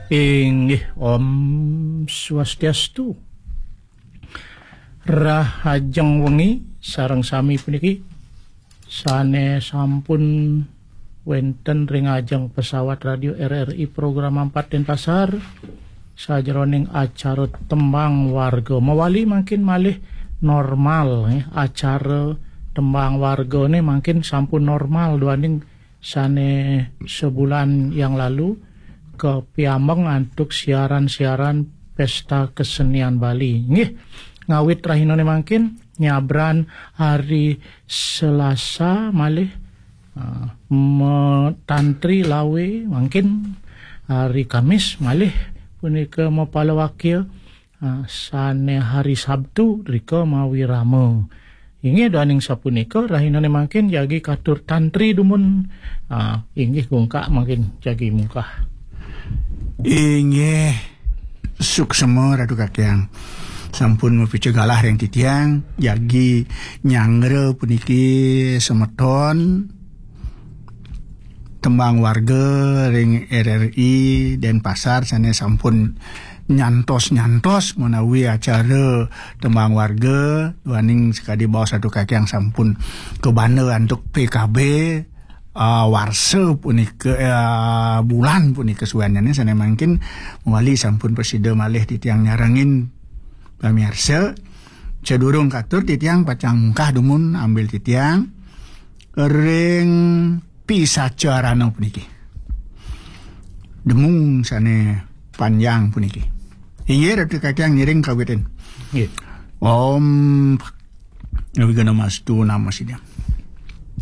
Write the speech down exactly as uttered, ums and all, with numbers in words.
Inggih, Om Swastiastu. Rahajeng wengi sareng sami puniki sane sampun wenten ring ajeng pesawat radio R R I program empat Denpasar, sajeroning acara Tembang Warga. Mawali mangkin malih normal, nggih. Acara Tembang Wargane mangkin sampun normal duaning sane sebulan yang lalu kapiambeng antuk siaran-siaran Pesta Kesenian Bali. Nggih, ngawit rahinane mangkin nyabran hari Selasa malih, ah, metantri lawe mangkin hari Kamis malih punika mapalawakya, ah, sane hari Sabtu rika mawirama. Inggih daning sapunika rahinane mangkin jagi katur tantri dumun, ah, inggih gungkak mangkin jagi mungkah. Inggih suksema Ratu Kakyang. Sampun mapica galah ring titiang jagi nyanggra puniki semeton Tembang Warga ring R R I Denpasar sane sampun nyantos-nyantos menawi acara Tembang Warga duaning sakadi baos Ratu Kakyang sampun kabanda antuk P K B, ah, warsa punika, ah, bulan punika suennyane sane mangkin mawali sampun prasida malih titiang nyarengin pamiarsa. Sadurung katur titiang pacang mungkah dumun ambil titiang ring pisacarana puniki. Demung sane panjang puniki. Inggih, Ratu Kakyang ngiring kawitin. Nggih. Om Awighnamastu Namo Siddham.